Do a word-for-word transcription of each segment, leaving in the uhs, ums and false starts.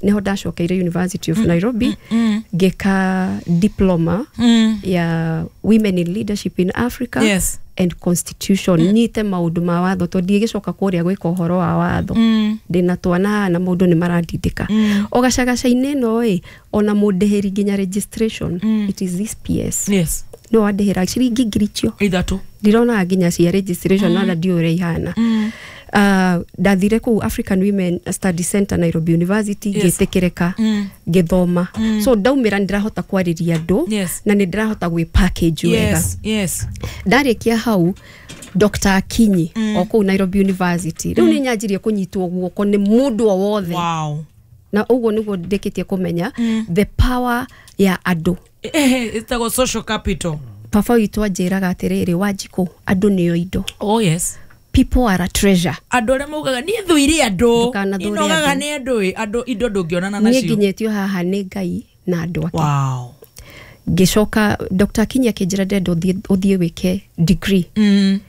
Niho ndacokeire University of Nairobi, ngĩka diploma Mm. ya Women in Leadership in Africa Yes. and Constitution, nyite maũndũ ma watho, tondũ ndigĩcoka kũrĩa gwĩka ũhoro wa watho. Mm. Ndĩna twana haha na maũndũ nĩ marandindĩka o gacagaca-inĩ ĩno ĩ, ona mũndĩhĩri nginya registration, it is this P S Yes. no wandĩhĩra ciringi ngiri icio ithatũ. Ndironaga nginya cia registration mm. ona ndiũĩ ũrĩa ihana. Mm. Uh, ndathire kũu African Women Study Center, Nairobi University, Yes. ngĩtĩkĩrĩka, Mm. ngĩthoma. So ndaumĩra nĩ ndĩrahota kwarĩria andũ Yes. na nĩ ndĩrahota gwĩ package wega. Yes. Yes. Ndarĩkia hau, Doctor Akinyi mm. o kũu Nairobi University, rĩu nĩ nyanjirie kũnyitwo guoko nĩ mũndũ o wothe. Wow. Na ũguo nĩguo ndĩkĩtie kũmenya the power ya andũ. Eh, ĩtagwo social capital. Baba witũ anjĩraga atĩrĩrĩ, "Wanjikũ, andũ nĩo indo." Oh yes. People are a treasure. Andũ arĩa maugaga niĩ thũire andũ, Ndũkanathũre inogaga andũ. nĩ andũ ĩ, andũ indo ndũngĩonana Niĩ nacio. nginyĩtio haha nĩ Ngai na andũ ake. Wow. Ngĩcoka Doctor Akinyi akĩnjĩra, "Ndĩrenda ũthiĩ ũthiĩ wĩke degree." Mm.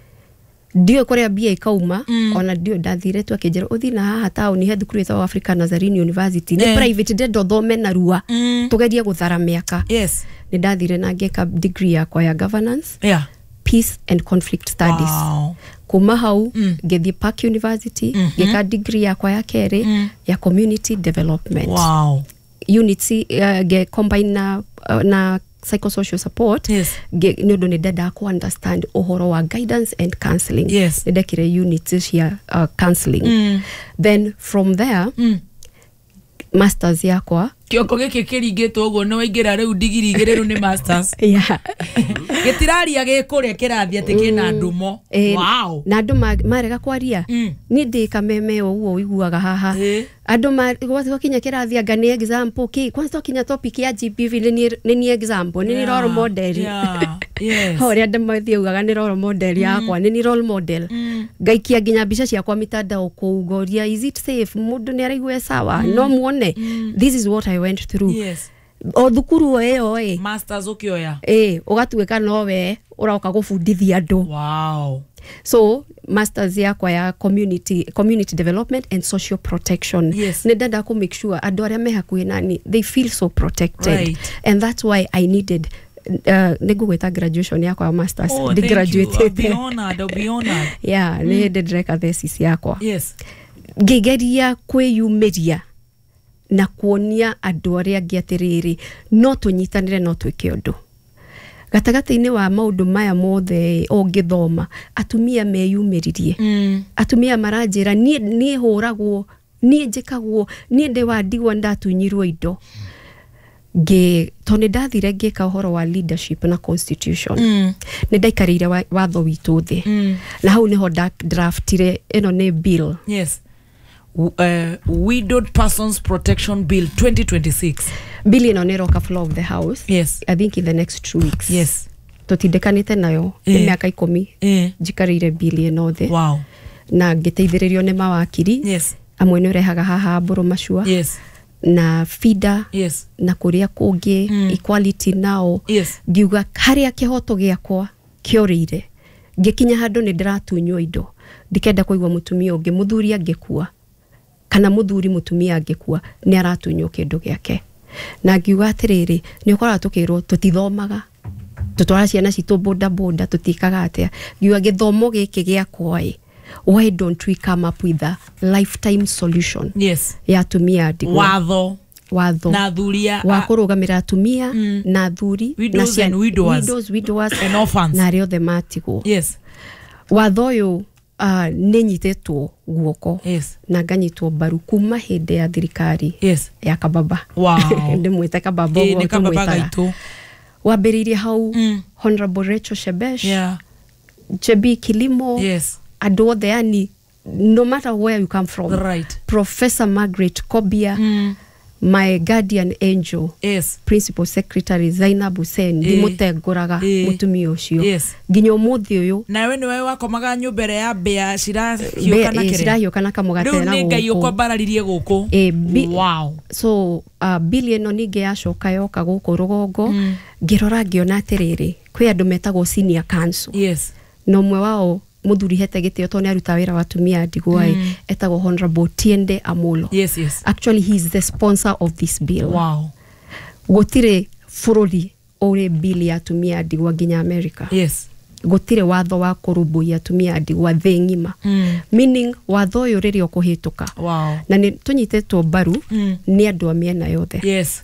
Ndiũĩ kũrĩa mbia ikauma, ona ndiũĩ. Ndathire tu, akĩnjĩra, "Ũthiĩ na haha taũni he thukuru ĩtagwo Africa Nazarene University, nĩ Eh. private, ndĩrenda ũthome narua, Mm. tũgerie gũthara mĩaka." Yes. Nĩ ndathire na ngĩka degree yakwa ya governance, Yeah. peace and conflict studies. Wow. Kuma hau ngĩthiĩ Park University, ngĩka degree yakwa ya kerĩ ya community development Wow. units, uh, nge combine na, uh, na psychosocial support. Yes. Nge- nĩ ũndũ nĩ ndendaga ku understand ũhoro wa guidance and counseling. Yes. Nĩ ndekire units cia uh, counseling. Mm. Then from there, Mm. masters yakwa. Kĩongo gĩkĩ kĩringĩtwo ũguo nĩ waingĩra rĩu ndigiri igĩrĩ, rĩu nĩ masters. Yeah. Gĩtiraria gĩkũrĩa kĩrathiĩ atĩ kĩna ndumo. Eh, wow. Na andũ ma- marega kwaria, Mm. niĩ ndĩ kameme o ũguo ũiguaga haha. Ĩ. Andũ ma- gwa- gwakinya kĩrathi anga nĩ example kĩ, kwanza twakinya topic ya G B V, nĩ niĩ- nĩ niĩ example, nĩ niĩ role model. Yeah. Yes. Ho ũrĩa andũ mathiaugaga nĩ role model yakwa, nĩ niĩ role model. Ngaikia nginya mbica ciakwa mitandao kũu, ngoria, "Is it safe? Mũndũ nĩ araigua e sawa? No muone this is what I went through." Yes. O thukuru o ĩyo ĩ, Masters ũkĩoya. Ĩ, ũgatuĩka nowe ũroka gũbundithia andũ. Wow. So masters yakwa ya community, community development and social protection. Yes. Nĩ ndenda kũ make sure andũ arĩa me hakuhĩ nani, they feel so protected. Right. And that's why I needed uh, nĩ ngũgwĩta graduation yakwa ya masters. Oh, thank you. I'll be Ndi-graduate. honored. I'll be honored. Yeah, nĩ hĩndĩ ndĩreka thesis yakwa. Yes. Ngĩgeria kwĩyumĩria na kuonia andũ arĩa angĩ atĩrĩrĩ, no tũnyitanĩre, no twĩke ũndũ gatagatĩ-inĩ wa maũndũ maya mothe. Ũngĩthoma atumia meyumĩririe, Mm. atumia maranjĩra, niĩ niĩ hũragwo, niĩ njĩkagwo, niĩ ndĩ wa ndigwa, ndatunyirwo indo." Ngĩ tondũ nĩ ndathire ngĩka ũhoro wa leadership na constitution, Mm. nĩ ndaikarĩire wa- watho witũ thĩ, Mm. na hau nĩho draftire ĩno nĩ bill. Yes. W- uh, Widowed Persons Protection Bill twenty twenty-six. Bill ĩno nĩ ĩroka floor of the house, Yes. I think in the next two weeks. Yes. Tũtindĩkanĩte nayo nĩ Eh. mĩaka ikũmi Eh. njikarĩire bill ĩno thĩ, Wow. na ngĩteithĩrĩrio nĩ mawakiri Yes. amwe nĩ ũrehaga haha mbũrũ macua Yes. na FIDA Yes. na kũrĩa kũngĩ, Mm. Equality Now. Yes. Ngiuga harĩa kĩhoto gĩakwa kĩorĩire, ngĩkinya handũ nĩ ndĩratunywo indo, ndikenda kũigua mũtumia ũngĩ, mũthuri angĩkua kana mũthuri mũtumia angĩkua, nĩ aratunywo kĩndũ gĩake. Na ngiuga atĩrĩrĩ, nĩ ũkoraga tũkĩrwo tũtithomaga, tũtwara ciana citũ boda boda, tũtikaga atĩa. Ngiuga gĩthomo gĩkĩ gĩakwa ĩ, why don't we come up with a lifetime solution Yes. ya atumia ndigwa? Watho. Watho Na athuri a wa kũrũgamĩra atumia na athuri Widows na and widowers. Widows, widowers And orphans. na arĩa othe matigwo. Yes. Watho ũyũ uh, nĩ nyitĩtwo guoko Yes. na nganyitwo mbaru kuma hĩndĩ ya thirikari Yes. ya kababa. Wow. Ndĩmwĩte kababa. Ĩ, Ũguo nĩ kababa tũmwĩtaga. gaitũ. Wambĩrĩirie hau, Mm. Honorable Rachel Shebesh, Yeah. Jebi Kilimo, Yes. andũ othe, yani no matter where you come from. Right. Professor Margaret Kobia, Mm. my guardian angel, Yes. Principal Secretary Zainab Hussein, Ĩ. ndimũtengũraga Ĩ. mũtumia ũcio Yes. nginya ũmũthĩ ũyũ. Nawe nĩwe wakomaga nyũmba ĩrĩa ya mbĩa cirahiũka na Mbĩa- ĩ, kĩrĩa. cirahiũka na kamũgate Rĩu na nĩ Ngai gũkũ. ũkwambararirie gũkũ. Ĩ, bi- Wow. So uh, bill ĩno ningĩ yacoka yoka gũkũ rũgongo, ngĩrora ngĩona atĩrĩrĩ, kwĩ andũ metagwo senior council, Yes. na ũmwe wao Mũthuri hete gĩtĩo tondũ nĩ aruta wĩra wa atumia a ndigwa ĩ, etagwo Honorable Tiende Amolo. Yes yes Actually, he is the sponsor of this bill. Wow gũtirĩ bũrũri ũrĩ bill ya atumia a ndigwa nginya America. Yes gũtirĩ watho wa kũrũmbũiya atumia a ndigwa thĩ ng'ima. Mm. Meaning watho ũyũ rĩrĩa ũkũhĩtũka, wow na nĩ tũnyitĩtwo mbaru Mm. nĩ andũ a mĩena yothe. Yes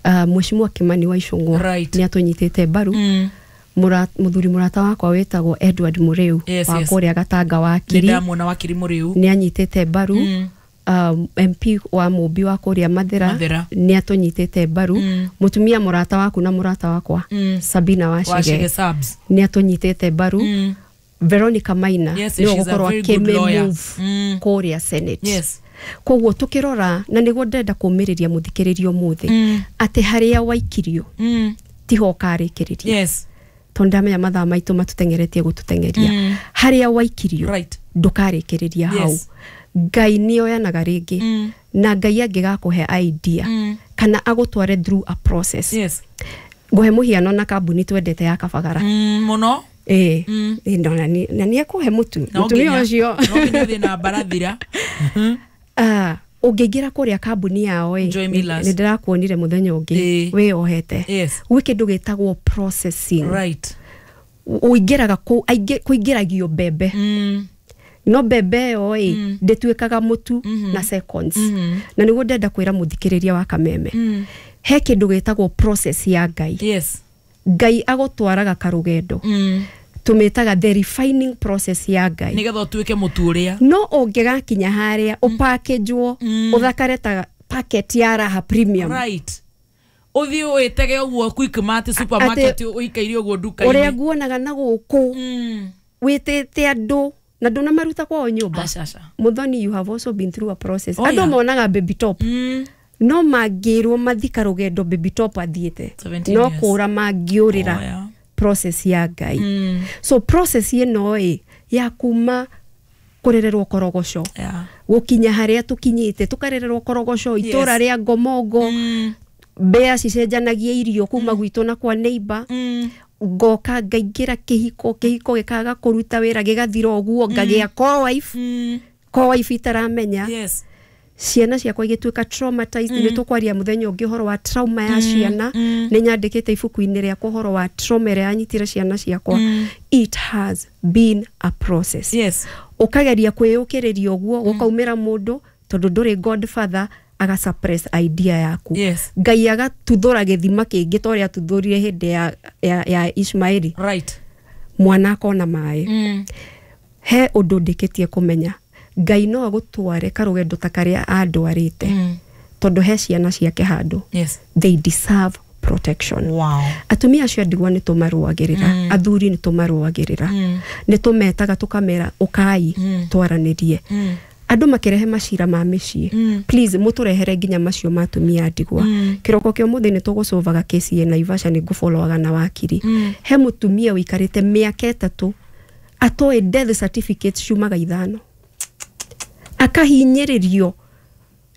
uh, Mheshimiwa Kimani wa Ichung'wa Right. nĩ atũnyitĩte mbaru. Mm. Mũra- mũthuri mũrata wakwa wĩtagwo Edward Mũrĩu Yes, wa yes. kũrĩa Gatanga Nĩ wakiri ndamuona wakiri Mũrĩu. Nĩ anyitĩte mbaru. Mm. um, M P wa Mũmbi wa kũrĩa Mathĩra Mathĩra. nĩ atũnyitĩte mbaru. Mm. Mũtumia mũrata waku na mũrata wakwa, Mm. Sabina Wachege Wachege, subs. nĩ atũnyitĩte mbaru. Mm. Veronica Maina Yes, nĩwe she's a ũgũkorwo very good lawyer. akĩmĩmove Mm. kũrĩa Senate. Yes. Koguo tukĩrora, na nĩguo ndĩrenda kũmĩrĩria mũthikĩrĩrio ũmũthĩ, Mm. atĩ harĩa waikirio Mm. tiho ũkarĩkĩrĩria. Yes. Tondũ ndamenya mathaa maitũ matũteng'eretie gũtũteng'eria. Mm. Harĩa waikirio, Right. ndũkarĩkĩrĩria hau. Yes. Ngai nĩ oyanaga rĩngĩ, Mm. na Ngai angĩgakũhe idea Mm. kana agũtware through a process. Yes. Ngũhe mũhiano na kambuni twendete ya Kabagara. Mm, mũno. Ĩĩ. Mm. Ĩĩ, no, na nĩ- na nĩ ekũhe mũtu No mũtumia nginya- ũcio. no nginya ũthiĩ na mbarathira. Ah, ũngĩingĩra kũrĩa kambuni yao ĩ, Joy Millers. nĩ ndĩrakuonire mũthenya ũngĩ Ĩĩ. wĩyohete. Yes. Gwĩ kĩndũ gĩtagwo processing. Right. Ũingĩraga kũu, aingĩ- kũingĩragio mbembe, Mm. no mbembe ĩyo ĩ ndĩtuĩkaga mũtu na seconds. Na nĩguo ndenda kwĩra mũthikĩrĩria wa Kameme, Mm. he kĩndũ gĩtagwo process ya Ngai. Yes. Ngai agũtwaraga karũgendo, Mm. tũmĩtaga the refining process ya Ngai, Nĩgetha ũtuĩke mũtu ũrĩa. No ũngĩgakinya harĩa ũpakĩnjwo ũthakare ta packet ya Raha Premium, Right. Ũthiĩ wĩtege ũguo Quickmart supermarket ũikaire ũguo ũrĩa nduka-inĩ. nguonaga na gũkũ, Mm. wĩtĩte andũ na ndũnamaruta kwao nyũmba. Aca, aca. Muthoni, you have also been through a process. Oh, Andũ yeah. monaga baby top, Mm. no mangĩrwo mathika rũgendo baby top athiĩte, seventeen no years. kũra mangĩũrĩra Oh, yeah. process ya Ngai. Mm. So process ĩno ĩ ya kuma kũrererwo korogoco Yeah. gũkinya harĩa tũkinyĩte, tũkarererwo korogoco itũra rĩa ngomongo, Mm. mbea cicenjanagia irio kuma gwitũ na kwa neighbor, Mm. ngoka ngaingĩra kĩhiko, kĩhiko gĩkaga kũruta wĩra, gĩgathira ũguo, ngagĩa co-wife, Mm. co-wife itaramenya, Yes. ciana ciakwa igĩtuĩka traumatized. Nĩ tũkwaria mũthenya ũngĩ ũhoro wa trauma ya ciana. mm. Nĩ nyandĩkĩte ibuku-inĩ rĩakwa ũhoro wa trauma ĩrĩa yanyitire ciana ciakwa. It has been a process. Yes. Ũkageria kwĩyũkĩrĩria ũguo, gũkaumĩra mũndũ, tondũ ndũrĩ godfather, aga suppress idea yaku. Yes. Ngai agatuthũra gĩthima kĩngĩ ta ũrĩa atuthũrire hĩndĩ ya, ya, ya Ishmaeli, Right. mwana akona maĩ. Mm. He ũndũ ndĩkĩtie kũmenya, Ngai no agũtware karũgendo ta karĩa andwarĩte, Mm. tondũ he ciana ciake handũ. Yes. They deserve protection. Wow. Atumia acio a ndigwa nĩ tũmarũagĩrĩra, mm. athuri nĩ tũmarũagĩrĩra, Mm. nĩ tũmetaga tũkamera ũkai Mm. twaranĩrie. Mm. Andũ makĩrehe macira ma mĩciĩ, Mm. please mũtũrehere nginya macio ma atumia a ndigwa. Mm. Kĩroko kĩa ũmũthĩ nĩ tũgũcũvaga kesi ya Naivasha, nĩ ngũboloaga na wakiri. Mm. He mũtumia ũikarĩte mĩaka ĩtatũ atoĩ death certificate ciumaga ithano, akahinyĩrĩrio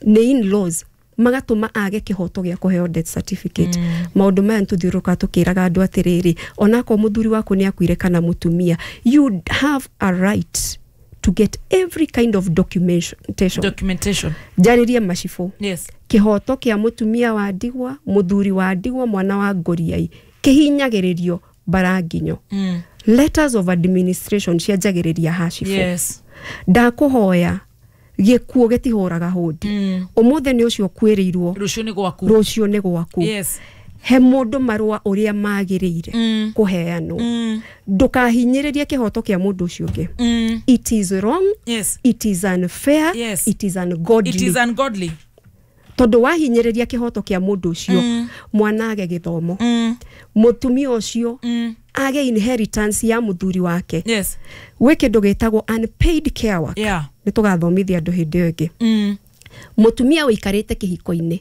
nĩ in-laws magatũma age kĩhoto gĩa kũheo death certificate. mm. Maũndũ maya nĩtũthiũrũrũkaga tũkĩraga andũ atĩrĩrĩ, onakorwo mũthuri waku nĩ akuire kana mũtumia, you have a right to get every kind of documentation. Documentation. Njarĩrie macibũ. Yes. Kĩhoto kĩa mũtumia wa ndigwa, mũthuri wa ndigwa, mwana wa ngũriai kĩhinyagĩrĩrio baranginyo. Mm. Letters of administration cianjagĩrĩria hacibũ. Yes. Ndakũhoya, gĩkuũ gĩtihũraga hũndi. Mm. Ũmũthĩ nĩ ũcio ũkuĩrĩirwo, Rũciũ nĩ gwaku. Rũciũ nĩ gwaku. Yes. He mũndũ marũa ũrĩa magĩrĩire Mm. kũheanwo. Mm. Ndũkahinyĩrĩrie kĩhoto kĩa mũndũ ũcio ũngĩ. Mm. It is wrong. Yes. It is unfair. Yes. It is ungodly. It is ungodly. Tondũ wahinyĩrĩria kĩhoto kĩa mũndũ ũcio, Mm. mwana age gĩthomo, Mm. mũtumia ũcio Mm. age inheritance ya mũthuri wake. Yes. Gwĩ kĩndũ gĩtagwo unpaid care work. Yeah. Nĩ tũgathomithia andũ hĩndĩ ĩyo ĩngĩ. Mm. Mũtumia ũikarĩte kĩhiko-inĩ,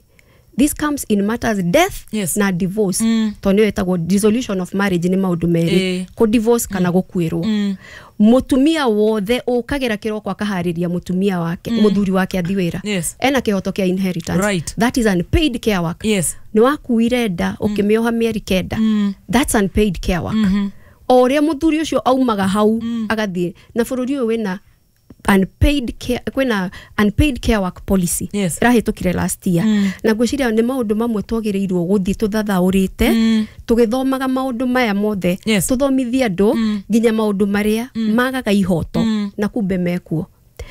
this comes in matters death Yes. na divorce, Mm. tondũ nĩyo ĩtagwo dissolution of marriage. Nĩ maũndũ merĩ, Ĩĩ. kũ divorce kana gũkuĩrwo. Mm. Mũtumia wothe ũkagĩra kĩroko akaharĩria mũtumia wake, mũthuri wake athi wĩra, Yes. ena kĩhoto kĩa inheritance. Right. That is unpaid care work. Yes. Nĩ wakuire nda ũkĩmĩoha mĩeri kenda, Mm. that's unpaid care work. Mhm. O ũrĩa mũthuri ũcio aumaga hau agathiĩ na bũrũri ũyũ wĩna unpaid care, kwĩna unpaid care work policy Yes. ĩrahĩtũkire last year mm. Na ngwĩciria nĩ maũndũ mamwe twagĩrĩirwo gũthiĩ tũthathaũrĩte mm. tũgĩthomaga maũndũ maya mothe. Yes. Tũthomithie andũ mm. nginya maũndũ marĩa mm. magaga ihoto mm. na kumbe mekuo.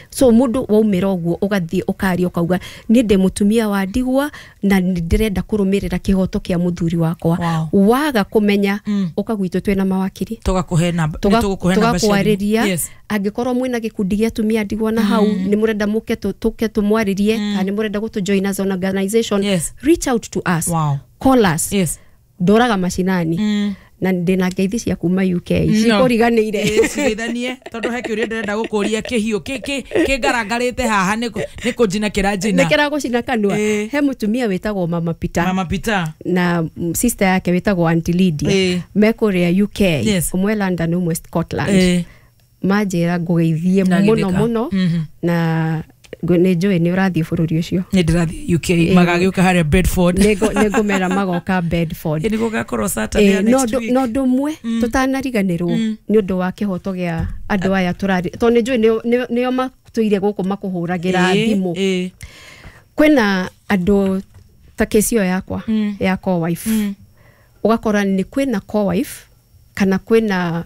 So mũndũ waumĩra ũguo ũgathiĩ ũkaria ũkauga niĩ ndĩ mũtumia wa ndigwa na nĩ ndĩrenda kũrũmĩrĩra kĩhoto kĩa mũthuri wakwa. Wow. Waga kũmenya mm. ũka gwitũ twĩna mawakiri. Tũgakũhe namba, nĩ tũgũkũhe namba cia thimũ. Tũgakwarĩria. Yes. Angĩkorwo mwĩna gĩkundi gĩa atumia ndigwa na hau nĩ mũrenda mũke tũ- tũke tũmwarĩrie kana nĩ mũrenda gũtũ join as an organization, Yes. reach out to us. Wow. Call us. Yes. Ndũraga macinani Mm. na ndĩna ngeithi cia kuma U K cikũriganĩire. Ĩĩ, cigeithanie tondũ he kĩũria ndĩrenda gũkũria kĩhiũ kĩ- kĩ- kĩngarangarĩte haha nĩ kũ- nĩ kũnjina kĩranjina. Nĩ kĩragũcina kanua. Ĩĩ. He mũtumia wĩtagwo Mama Peter Mama Peter na mm, sister yake wĩtagwo Auntie Lydia. Ĩĩ. Me kũrĩa U K. Yes. Ũmwe London, ũmwe Scotland. Ĩĩ. Manjĩra ngũgeithie Na mũno githĩka. mũno. Mhm. Na ngũ- nĩ njũĩ nĩ ũrathiĩ bũrũri ũcio. Nĩ ndĩrathiĩ U K, magagĩũka harĩa Bedford. Nĩ ngũ- nĩ ngũmera magoka Bedford. Ĩ, nĩ gũgakorwo Saturday ya Ĩĩ, no next ũndũ- week. no ũndũ ũmwe tũtanariganĩrwo nĩ ũndũ wa kĩhoto gĩa andũ aya tũrari tondũ nĩ njũĩ nĩo- nĩo- nĩo matũire gũkũ makũhũragĩra Ĩĩ, thimũ. ĩĩ. Kwĩna andũ ta kesi ĩyo yakwa ya co-wife, ũgakora nĩ kwĩna co-wife kana kwĩna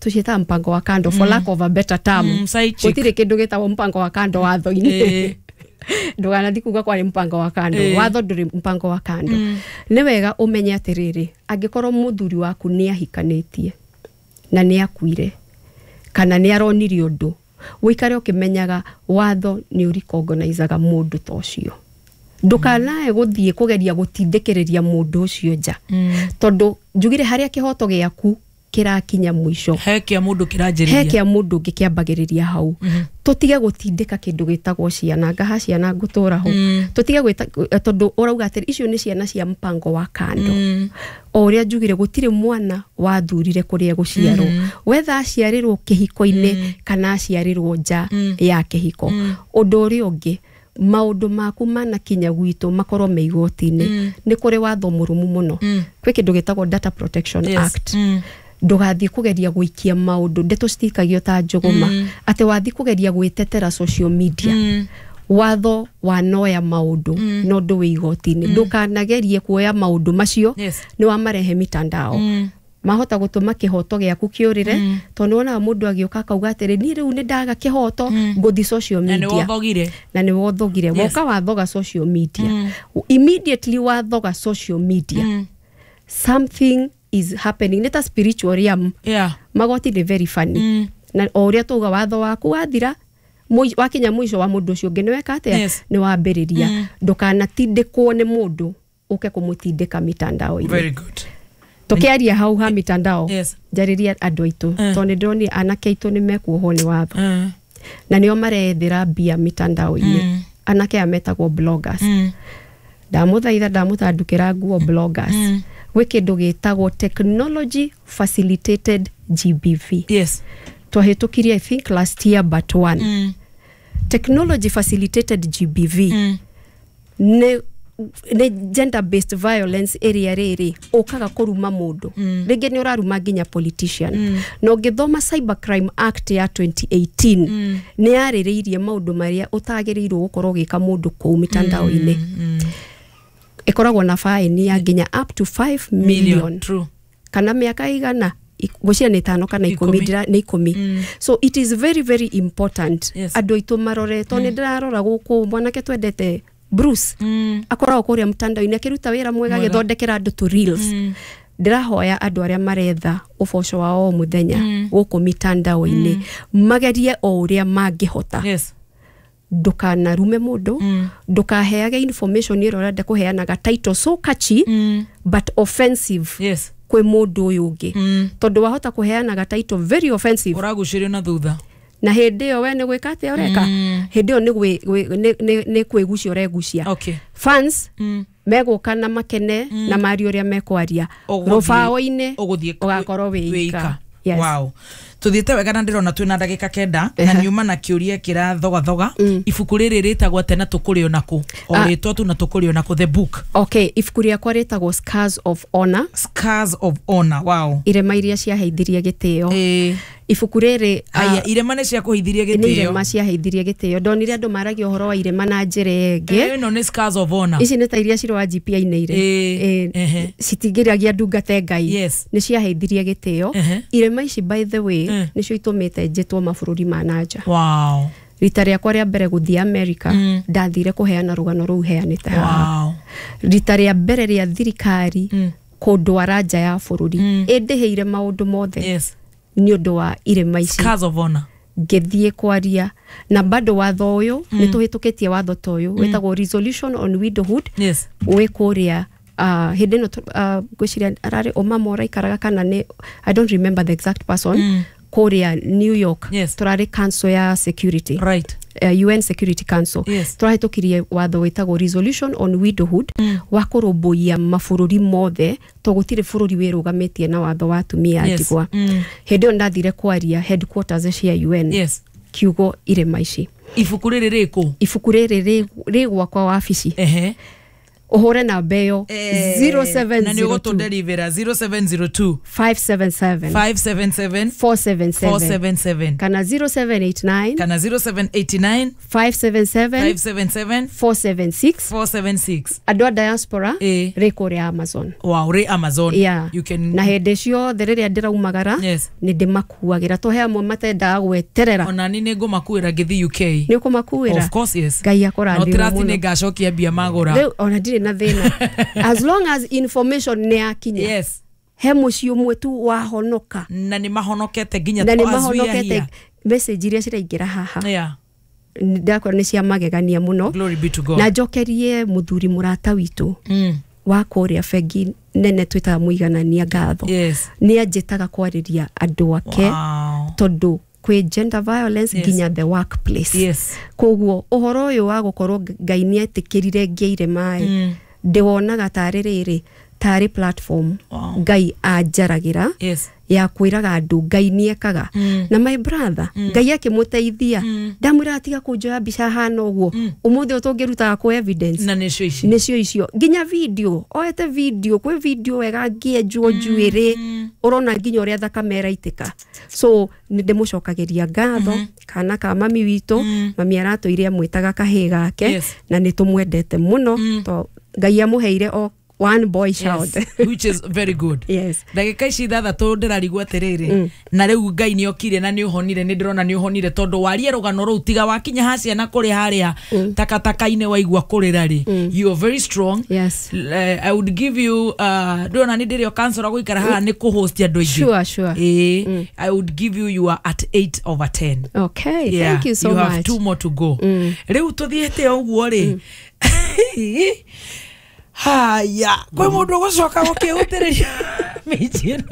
tũciĩtaga mpango wa kando, for lack of a better term. Mm, side chick. Gũtirĩ kĩndũ gĩtagwo mpango wa kando watho-inĩ. Ĩĩ. Ndũganathi kuga kwarĩ mpango wa kando. Ĩĩ. Watho ndũrĩ mpango wa kando. Nĩ wega ũmenye atĩrĩrĩ, angĩkorwo mũthuri waku nĩ ahikanĩtie na nĩ akuire kana nĩ aronire ũndũ, ũikare ũkĩmenyaga watho nĩ ũrikongonizaga mũndũ ta ũcio. Ndũkanae gũthiĩ kũgeria gũtindĩkĩrĩria mũndũ ũcio nja, tondũ njugire harĩa kĩhoto gĩaku kĩrakinya mũico, he kĩa mũndũ he kĩranjĩrĩria. Kĩa mũndũ ũngĩ kĩambagĩrĩria hau. Tũtige gũtindĩka kĩndũ gĩtagwo ciana ngaha ciana ngũtũra ho, tũtige gwĩta tondũ ũrauga atĩrĩ icio nĩ ciana cia mpango wa kando. O ũrĩa njugire, gũtirĩ mwana wathurire kũrĩa gũciarwo, wetha aciarĩrwo kĩhiko-inĩ kana aciarĩrwo nja ya kĩhiko. Ũndũ ũrĩa ũngĩ, maũndũ maku manakinya gwitũ makorwo me igoti-inĩ, nĩ kũrĩ watho mũrũmu mũno. Kwĩ kĩndũ gĩtagwo Data Protection Yes. Act. Mm. Ndũgathiĩ kũgeria gũikia maũndũ, ndeto citikagio ta njũgũma atĩ wathiĩ kũgeria gwĩtetera social media. Watho wanoya maũndũ no ndũ wĩ igoti-inĩ, ndũkanagerie kuoya maũndũ macio Yes. nĩ wamarehe mitandao, mahota gũtũma kĩhoto gĩaku kĩũrĩre, tondũ nĩwonaga mũndũ agĩũka akauga atĩrĩ, niĩ rĩu nĩ ndaga kĩhoto, ngũthi social Na nĩ media. Wothogire. Na nĩ wothogire. Yes. Woka wathoga social media, immediately wathoga social media, something is happening, nĩ ta spiritual realm. Yeah. Magoti nĩ very funny, na o ũrĩa tuga watho waku wathira, mũi- wakinya mũico wa mũndũ ũcio ũngĩ nĩ weka atĩa? Yes. Nĩ wambĩrĩria. Ndũkanatindĩkwo nĩ mũndũ ũke kũmũtindĩka mitandao-inĩ. Very good. Tũkĩaria hau ha mitandao, Yes. njarĩria andũ aitũ, tondũ nĩ ndĩronire anake aitũ nĩ mekuohwo nĩ watho Mm. na nĩo marethera mbia mitandao-inĩ, anake aya metagwo bloggers. Mm. Ndamũthaitha, ndamũtandukĩra nguo bloggers, gwĩ kĩndũ gĩtagwo technology facilitated G B V. Yes. Twahĩtũkirie, I think last year but one. Mm. Technology facilitated G B V Mm. nĩ nĩ gender based violence ĩrĩa rĩrĩ ũkaga kũruma mũndũ, rĩngĩ nĩ ũraruma nginya politician. Na ũngĩthoma Cyber Crime Act ya twenty eighteen, nĩ yarĩrĩirie maũndũ marĩa ũtagĩrĩirwo gũkorwo ũgĩka mũndũ kũu mitandao-inĩ. Ĩkoragwo na faini ya nginya up to five million True. kana mĩaka igana, ngwĩciria nĩ ĩtano kana ikũmi. Ikũmi. ndĩra- nĩ ikũmi. So it is very very important Yes. andũ aitũ marore, tondũ nĩ ndĩrarora gũkũ mwanake twendete Bruce Mm. akoragwo kũrĩa mtandao-inĩ akĩruta wĩra mwega, Mwega. agĩthondekera andũ tũ reels. Ndĩrahoya andũ arĩa maretha ũboco wa o mũthenya gũkũ mitandao-inĩ magerie o ũrĩa mangĩhota, Yes. ndũkanarume mũndũ, ndũkaheage information ĩrĩa ũrenda kũheanaga title so catchy Mm. but offensive Yes. kwĩ mũndũ ũyũ ũngĩ, Mm. tondũ wahota kũheanaga title very offensive Ũragucĩrio na thutha. Na hĩndĩ ĩyo we nĩ gwĩka atĩa ũreka? Hĩndĩ ĩyo nĩ gwĩ- gwĩ- nĩ- nĩ- nĩ kwĩgucia ũregucia. Okay. Fans Mm. megũka na makene na marie ũrĩa mekwaria Ũgũthiĩ- rũbaũ-inĩ, ũgũthiĩ ũgakorwo wĩ wĩ ika. ika. Yes. Wow, tuthiĩte wega na ndĩrona twĩna ndagĩka kenda na niuma na kĩũria kĩrathogathoga. Ibuku rĩrĩ rĩtagwo atĩa na tũkũrĩo nakũ? O Ah. rĩtwa tu na tũkũrĩo nakũ, the book? Okay, ibuku rĩakwa rĩtagwo Scars of Honor. Scars of Honor, wow. Irema iria ciaheithirie gĩtĩo. Ĩĩ. Ibuku rĩrĩ ah, Aya, irema nĩ ciakũheithirie nĩ gĩtĩo? irema ciaheithirie gĩtĩo. Ndonire andũ maragia ũhoro wa irema na njĩra ĩngĩ. Ĩno nĩ Scars of Honor. Ici nĩ ta iria ciroa G P ainĩire. Ĩĩ, ehe. Citingĩragia ndungate Ngai. Yes. Nĩ ciaheithirie gĩtĩo Ehe. irema ici. By the way, Mm. nĩcio itũmĩte njĩtwo mabũrũri ma nanja. Wow rita rĩakwa rĩa mbere gũthiĩ America, ndathire kũheana rũgano rũu heanĩte haha. Wow Rita rĩa mbere rĩa thirikari kũndwara nja ya bũrũri, ĩndĩhĩire maũndũ mothe yes nĩ ũndũ wa irema ici. Scars of Honor. Ngĩthiĩ kwaria na bado watho ũyũ nĩ tũhĩtũkĩtie, watho ta ũyũ wĩtagwo Resolution on Widowhood. Yes wĩ kũrĩa uh, hĩndĩ ĩno uh, ngwĩciria ararĩ ũmama ũraikaraga kana nĩ, I don't remember the exact person, mm. kũrĩa New York. Yes. Tũrarĩ council ya security, right uh, U N Security Council. Yes. Tũrahĩtũkirie watho wĩtagwo Resolution on Widowhood mm. wa kũrũmbũiya mabũrũri mothe, to gũtirĩ bũrũri wĩrũgamĩtie na watho wa atumia Yes. ndigwa. Mm. Hĩndĩ ĩyo ndathire kwaria headquarters cia U N, yes kiugo irema ici. Ibuku rĩrĩ rĩkũ? Ibuku rĩrĩ rĩ- rĩ gwakwa wabici. Ehe Ũhũre namba ĩyo. Na nĩ zero seven zero two ũgũtũnderivĩra zero seven zero two five seven seven five seven seven four seven seven. four seven seven. Kana zero seven eight nine kana zero seven eight nine five seven seven five seven seven four seven six. four seven six. Andũ a diaspora, Ĩ. rĩ kũrĩa Amazon. Wow, rĩ Amazon. Yeah. You can Na hĩndĩ ciothe rĩrĩa ndĩraumagara, Yes. nĩ ndĩmakuagĩra, to he amwe matendaga gweterera. Ona ni nĩ ngũmakuĩra ngĩthiĩ U K. Nĩ ũkũmakuĩra? Of course, yes. Ngai No akũrathime trust mũno. nĩ ngacokia mbia magũra. Rĩu ona ndirĩ na thĩna as long as information nĩ yakinya. Yes he mũciĩ ũmwe tu wahonoka. Na nĩ mahonokete nginya Na nĩ as we are mahonokete. here. Message iria ciraingĩra haha, yeah ndakora nĩ cia magegania mũno. Glory be to God. Na njokerie mũthuri mũrata witũ mm. wa kũrĩa bengi nene twĩtaga Mũiganania ngatho. Yes nĩ anjĩtaga kwarĩria andũ ake, wow tondũ kwĩ gender violence Yes. nginya the workplace. Yes Koguo ũhoro ũyũ wa gũkorwo Ngai nĩ etĩkĩrire ngĩire maĩ, Mm. ndĩwonaga tarĩ rĩrĩ, tarĩ platform Wow. Ngai anjaragĩra yes ya kwĩraga andũ Ngai nĩ ekaga. Mm. Na my brother, Ngai akĩmũteithia, ndamwĩra atiga kũnjoya mbica hana ũguo. Ũmũthĩ ũyũ tũngĩrutaga kũ evidence? Na nĩcio ici. Nĩcio icio, nginya video oete video, kwĩ video wega ngĩenjwo njuĩrĩ, ũrona nginya ũrĩa thakame ĩraitĩka. So nĩ ndĩmũcokagĩria ngatho kana ka mami witũ. Mami aratũire amwĩtaga kahĩ gake. Yes. Na nĩ tũmwendete mũno, to Ngai amũheire o one boy child. Yes, which is very good. Yes. Ndagĩka ici ithathatũ ndĩrarigwo atĩrĩrĩ, na rĩu Ngai nĩ okire na nĩ ũhonire, nĩ ndĩrona nĩ ũhonire, tondũ warie rũgano rũu tiga wakinya ha ciana kũrĩ harĩa takataka-inĩ waigua kũrĩra rĩ, you are very strong. Yes. L- eh, I would give you, uh, ndĩrona nĩ ndĩrĩ o kansora gũikara haha nĩ kũhost andũ aingĩ. Sure, sure. Ĩĩ, I would give you, you are at eight over ten. Okay, Yeah, thank you so you much. have two more to go. Rĩu tũthiĩte o ũguo rĩ, haya, kwĩ mũndũ ũgũcoka gũkĩhutĩrĩria mĩici ĩno?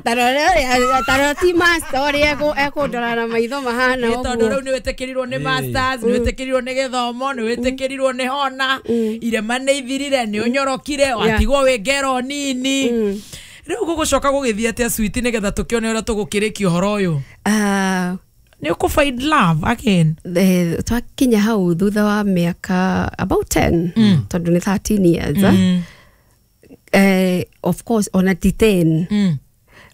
Tarora ti master ũrĩa ekũndora na maitho mahana Nĩ tondũ ũguo. Rĩu nĩ wĩtĩkĩrirwo nĩ masters, nĩ wĩtĩkĩrirwo nĩ gĩthomo, nĩ wĩtĩkĩrirwo nĩ hona, irema nĩ ithirire, nĩ ũnyorokire, watigwo wĩ ngero nini. Rĩu gũgũcoka gũgĩthiĩ atĩa, sweet, nĩgetha tũkĩone ũrĩa tũgũkĩrĩkia ũhoro ũyũ? Ah, Nĩ ũkũ find love again? eh, twakinya hau thutha wa mĩaka about ten, tondũ nĩ thirteen years. mm. eh, of course ona ti ten. Mm.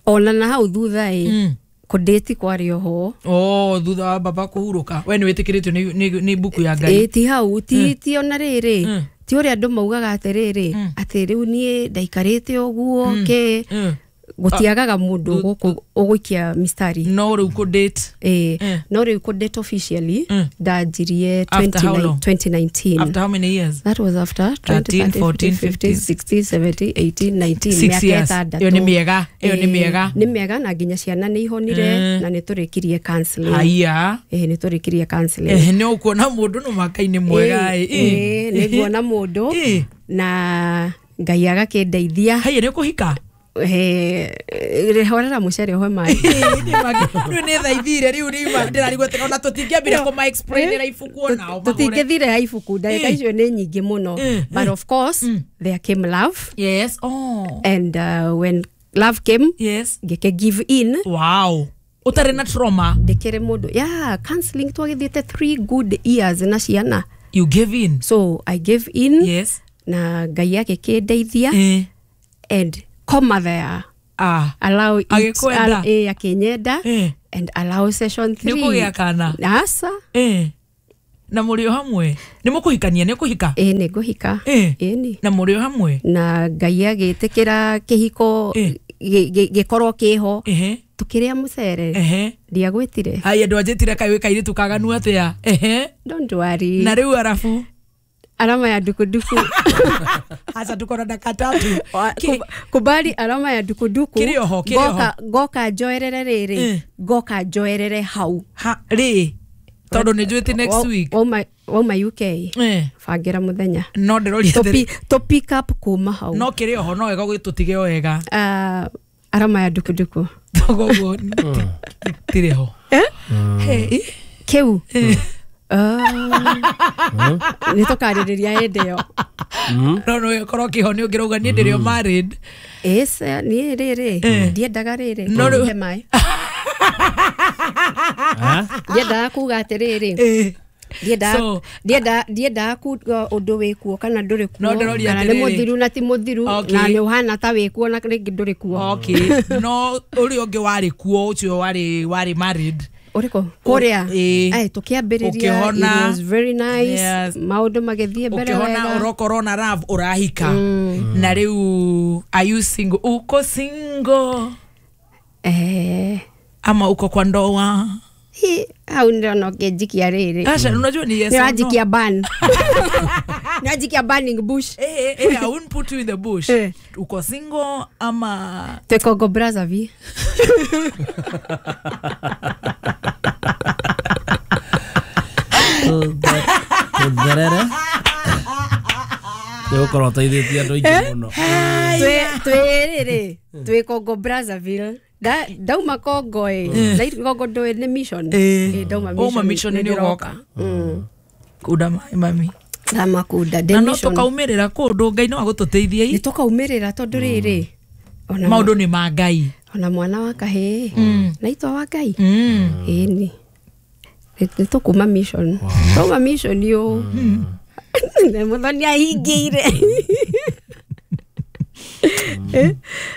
Ona na hau thutha ĩ, Mm. kũndĩti kwarĩ oho. Oh, thutha wa baba kũhurũka we nĩ wĩtĩkĩrĩtio nĩ- nĩ nĩ mbuku ya Ngai? Ĩ, ti hau, ti ti ona rĩrĩ, Mm. ti ũrĩa andũ maugaga atĩrĩrĩ, atĩ rĩu niĩ ndaikarĩte ũguo kĩ. Mm. Gũtiagaga mũndũ gũkũ ũgũikia mistari. No rĩu kũ date? Ĩ, Mm. no rĩu kũ date officially Mm. ndanjirie After how long? twenty nineteen. After how many years? That was after thirteen, fourteen, twenty, thirteen, sixteen, seventeen, eighteen, nineteen. Six Mĩaka years. ĩtandatũ. Ĩyo nĩ mĩega, ĩyo nĩ Ĩ, mĩega. nĩ mĩega, na nginya ciana nĩ ihonire Mm. na nĩ tũrĩkirie counseling. Haiya. Ĩ, nĩ tũrĩkirie counseling. Eh, nĩ ũkuona mũndũ no makai nĩ mwega. Ĩ, ĩ. ĩ, nĩ nguona mũndũ Ĩ. na Ngai agakĩndeithia. Haiya, nĩ ũkũhika? Eh, horera mũcere ũhe maĩ. Rĩu nĩ thaithire, rĩu rĩu ndĩrarigwo atĩ ona tũtingĩambire kũma explainĩra ibuku onao magũre. Tũtingĩthire ya ibuku, ndagĩka Ĩ. icio nĩ nyingĩ mũno, Ĩ, but of course there came love. Yes, oh. And uh, when Love came. Yes. Ngĩke give in. Wow, ũtarĩ na trauma. Ndĩkĩrĩ mũndũ yeah, counseling twagĩthiĩte three good years na ciana. You gave in. So I gave in. Yes. Na Ngai agĩkĩndeithia. Eh. And koma there. Ah. Allow it. Agĩkwenda? Al, eh, akĩnyenda. Eh. And allow session three. Nĩ ũkũgĩa kana? Asa. Eh. Na mũrĩ o hamwe? Nĩ mũkũhikania? Nĩ ũkũhika? Ĩ nĩ ngũhika. Eh. Ĩni. Na mũrĩ o hamwe? Na Ngai agĩtĩkĩra kĩhiko Eh. gĩkorwo kĩho. Ehe. Tukĩrĩa mũcere. Ehe. Ndiagwĩtire. Ai, andũ anjĩtire kaĩ wĩ kairĩtu kaganu atĩa? Ehe. Don't worry. Na rĩu arabu alama ya dukuduku. Acha tuko na dakika tatu. Kubali alama ya dukuduku. Kiri oho, kiri oho. Goka, goka njoerere rĩrĩ. Eh. Goka njoerere hau. Ha, rĩ. Tondũ nĩ njũĩte next week. Wauma, wauma U K. Eh. Bangira mũthenya. No ndĩroria To atĩrĩ. pi, to pick up kuma hau. No kĩrĩ oho no wega gũgĩtũtige o wega. Uh, alama ya dukuduku. Koguo tirĩ ho. Eh? Hey. Kĩu. Nĩ tũkarĩrĩria hĩndĩ ĩyo. No no ĩkorwo kĩho nĩ ũngĩrauga niĩ ndĩrĩ o married. Ĩĩ niĩ rĩrĩ ndiendaga rĩrĩ. No rĩu He maĩ. Ndiendaga kuga atĩrĩrĩ. Ndiendaga So, ndiendaga ndiendaga kuga ũndũ wĩkuo kana ndũrĩ kuo. No ndĩroria Kana nĩ atĩrĩrĩ. mũthiru na ti mũthiru. Okay. Na nĩ ũhana ta wĩkuo na rĩngĩ ndũrĩ kuo. Okay. No ũrĩa ũngĩ warĩ kuo ũcio warĩ warĩ married. Ũrĩkũ? Kũrĩa. Ĩĩ. Ai, tũkĩambĩrĩria, Ũkĩhona. it was very nice. Yes. Maũndũ magĩthiĩ mbere Ũkĩhona wega. ũrokorwo na love ũrahika. Na rĩu are you single? Uko single? Eh. Ama uko kwa ndoa? Hi, hau ndĩrona ũkĩnjikia rĩrĩ. Asha, unajua ni yes or no. Nĩwanjikia ban. Nĩwanjikia burning bush. Eh, eh, I won't put you in the bush. Eh. Uko single ama Twĩ Congo Brazzaville. Tũtherere. Nĩ gũkorwo ũteithĩtie andũ aingĩ mũno. Twĩ twĩ rĩrĩ, twĩ Congo Brazzaville. Da ndauma Congo ĩ. Na Congo ndũĩ nĩ mission. Eh. Ĩ ndauma Wauma mission nĩ ũgoka. Mm. Kunda maĩ mami. Ndamakunda ndĩ Na no mission. tũkaumĩrĩra kũndũ Ngai no agũtũteithie Nĩ tũkaumĩrĩra tondũ rĩrĩ. Ona maũndũ nĩ ma Ngai. Ona mwana wa kahĩĩ. Na itwa wa Ngai. Mm. Ĩni. Nĩ tũkuma mission. Twauma mission yo. Nĩ Mũthoni ahingĩire. Eh?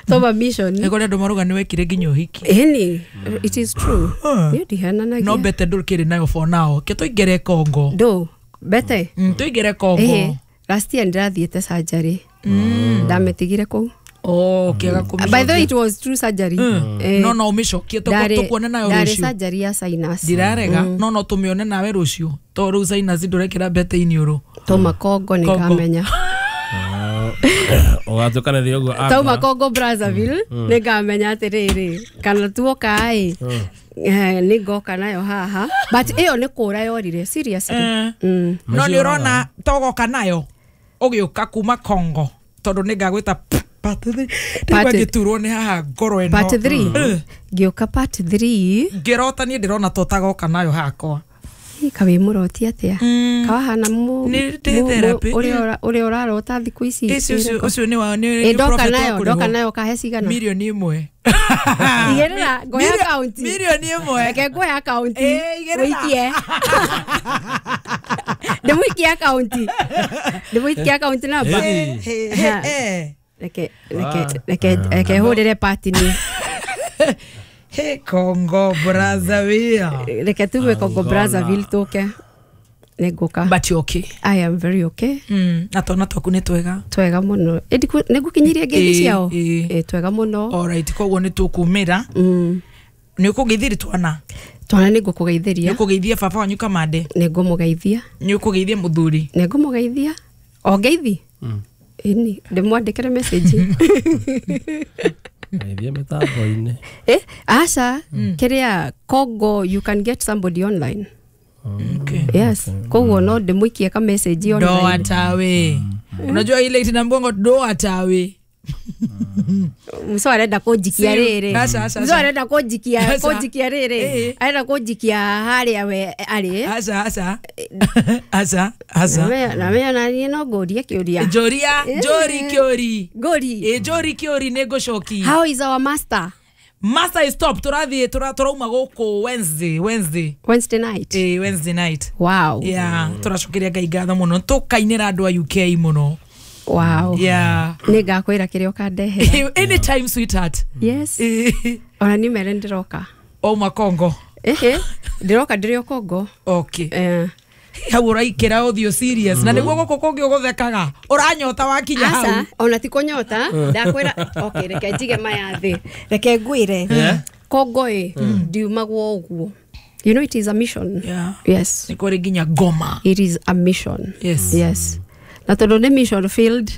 Twauma mission. Nĩ kũrĩ andũ marauga nĩ wekire nginya ũhiki. Ĩni, it is true. Niĩ ndihananagia. No mbete ndũkĩrĩ nayo for now. Ke tũingĩre Congo. Ndũ, mbete? Mm, tũingĩre Congo. Ĩhĩ, last year ndĩrathiĩte surgery. Ndamĩtigire kũu. Oh, kĩaga kũmĩcokia. By the way, it was true surgery. Eh, No no ũmĩcokie ndarĩ- tũkuone nayo ndarĩ rũciũ. surgery ya sinus. Ndirarega no no tũmĩone nawe rũciũ to rĩu sinus ndũrekĩra mbete iniũrũ. Twauma Congo nĩ Congo. ngamenya. Ũgatuĩkanĩria ũguo akora. Twauma Congo Brazzaville nĩ ngamenya atĩrĩrĩ kana tuoka ĩ nĩ ngoka nayo haha but ĩyo nĩ kũra yorire seriously. Mm. No nĩ ũrona togoka nayo ũgĩũka kuma Congo tondũ nĩ ngagwĩta part three. Part- Ndĩgua ngĩturwo nĩ haha ngoro ĩno. Part three. Eh. Ngĩũka part three. Ngĩrota niĩ ndĩrona to tagoka nayo hakwa. Kaĩ mũroti atĩa? Kawahana mu Nĩ ndĩ therapy. ũrĩa ũrĩa ũrarota thikũ ici. Ici ũcio ũcio nĩ wa nĩ Ĩ ndoka prophet nayo wa ndoka kũrĩhwo. nayo kahe cigana? Mirioni ĩmwe. Igĩrĩra ngoya Mirio- akaunti. Mirioni ĩmwe. Reke ngoya akaunti. Ĩ, igĩrĩra. Wĩikie. Ndĩmũikie akaunti. Ndĩmũikie akaunti namba. Ĩ. Eh, eh. Reke reke reke reke hũrĩre party ni. He Congo Brazzaville. Reke tume Congo Brazzaville tũke. Nĩ ngũka. But you okay. I am very okay. Mm, na twana twaku nĩ twega. Twega mũno. Ĩ ndiku- nĩ ngũkinyirie ngeithi Ĩ, ciao? ĩ. Ĩ twega mũno. Alright, koguo nĩ tũkumĩra. Mm. Nĩ ũkũgeithĩria twana. Twana nĩ Nĩ ngũkũgeithĩria. ũkũgeithia baba wanyu Kamande. Nĩ ngũmũgeithia. Nĩ ũkũgeithia mũthuri. Nĩ ngũmũgeithia. O ngeithi? Ĩni, ndĩmwandĩkĩre message. Geithia mĩtambo-inĩ. Eh, aca, kĩrĩa Congo you can get somebody online. Okay. Yes. Koguo no ndĩmũikie ka message Do online. atawe. Unajua ile itina mgongo do atawe. Muco arenda kũnjikia rĩrĩ. Aca, aca, Muco aca. arenda kũnjikia Aca. kũnjikia rĩrĩ. Ĩĩ. Arenda kũnjikia harĩa we arĩ. Aca, aca. Aca, aca. Na me na niĩ no ngũrie kĩũria. Njũria, njũri kĩũri. Ngũri. Ĩ njũri kĩũri nĩ ngũcoki. How is our master? Master is top. Tũrathiĩ tũra- tũrauma gũkũ Wednesday, Wednesday. Wednesday night. Ĩ Wednesday night. Wow. Yeah, tũracokeria Ngai ngatho mũno. Tũkainĩra andũ a U K mũno. Wow. Yeah. Nĩ ngakwĩra kĩrĩa ũkandehera. Anytime, sweetheart. Yes. Ĩ, Ona niĩ mere ndĩroka. Ouma Kongo. Ĩhĩ, ndĩroka ndĩrĩ o Kongo. Okay. Eh. Hau ũraikĩra ũthiũ serious na nĩguo gũkũ kũngĩ ũgũthekaga ũranyota wakinya hau. Aca, ona ti kũnyota, ndakwĩra okay, reke njige maya thĩ. Reke ngwĩre. Kongo ĩ, ndiumagwo ũguo. You know it is a mission. Yeah. Yes. Nĩ kũrĩ nginya ngoma. It is a mission. Yes. Yes. Na tondũ nĩ mission field.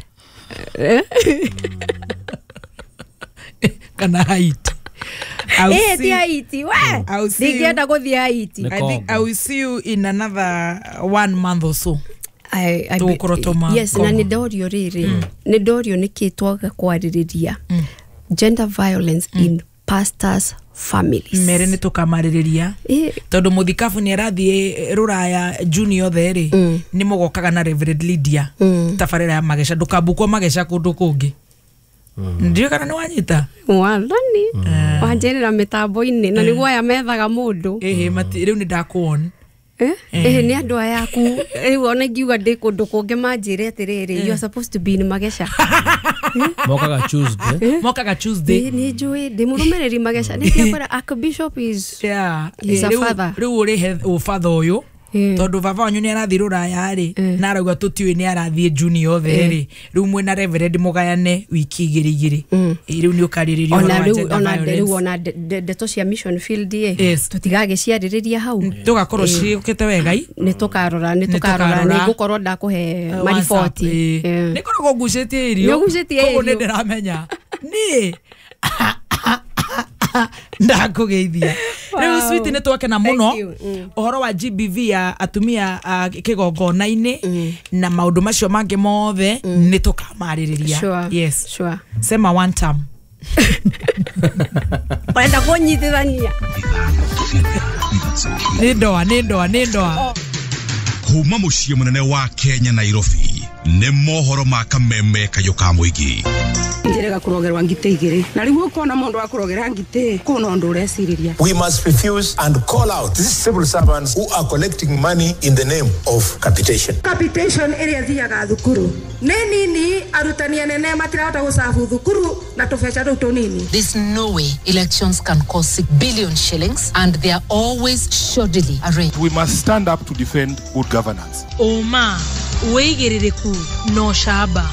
Kana Haiti. I will Eh, see ti Haiti, we. I will see you. Ndingĩenda gũthiĩ Haiti. Nĩ I think I will see you in another one month or so. I- I be- Tũgũkorwo twauma Yes, na Congo. nĩ ndorio rĩrĩ. Nĩ ndorio nĩkĩ twaga kwarĩrĩria gender violence in pastors' families. Mere nĩ tũkamarĩrĩria Eh, tondũ mũthikabu nĩ arathiĩ rũraya June yothe rĩ nĩ mũgokaga na Reverend Lydia tabarĩra ya mageca ndũkambukwo mageca kũndũ kũngĩ. Ndiũĩ kana nĩ wanyita. Wathani wanjĩrĩra mĩtambo-inĩ na nĩguo aya methaga mũndũ. Ĩhĩ mati rĩu nĩ ndakuon. Eh? Ĩhĩ nĩ andũ aya aku rĩu ona ingiuga ndĩ kũndũ kũngĩ manjĩre atĩrĩrĩ, you are supposed to be in Mageca. Mokaga Tuesday. Mokaga Tuesday. Ĩ, nĩ njũĩ ndĩ mũrũmĩrĩri Mageca nĩ ndiakwĩra Archbishop is Yeah. He's a Rĩu- father. rĩu ũrĩhe ũbatha ũyũ Eh. tondũ baba wanyu nĩ arathiĩ rũraya rĩ na arauga tũtiũĩ nĩ arathiĩ June yothe rĩ rĩu mwĩna Reverend mũgayane wiki igĩrĩ igĩrĩ. Ĩ, rĩu nĩ ũkarĩrĩria ũhoro ona wa rĩu gender ona rĩu violence. ona nde- nde- ndeto cia mission field ĩ Yes. tũtigagĩciarĩrĩria hau. Tũgakorwo ciũkĩte wegai. Nĩ tũkarora nĩ Nĩ tũkarora tũkarora. nĩ ngũkorwo ndakũhe mariboti. Eh. Nĩ ngoragwo ngucĩtie irio. Nĩ ũgucĩtie Koguo nĩ irio. ndĩramenya niĩ ndakũgeithia. Rĩu Wow. sweet nĩ twakena Thank mũno you. Mm. ũhoro wa G B V ya atumia a kĩgongona-inĩ na maũndũ macio mangĩ mothe nĩ tũkamarĩrĩria. Sure. Yes. Sure. Sema one term. Ũrenda kũnyitithania. Nĩ ndoa nĩ ndoa nĩ ndoa. Kuma mũciĩ mũnene wa Kenya Nairobi nĩ mohoro ma kameme kayũ ka mũingĩ. Njĩrĩga kũrogerwa ngitĩ igĩrĩ na rĩu ũkona mũndũ wa kũrogera ngitĩ kũna ũndũ ũrecirĩria. We must refuse and call out these civil servants who are collecting money in the name of capitation. Capitation ĩrĩa ĩthiaga thukuru nĩ nini, arutani anene matirahota gũcabu thukuru na tũbeca tũu tũnini. There's no way elections can cost six billion shillings and they are always shoddily arranged. We must stand up to defend good governance. Ũma, wĩigĩrĩrĩku na ũcamba.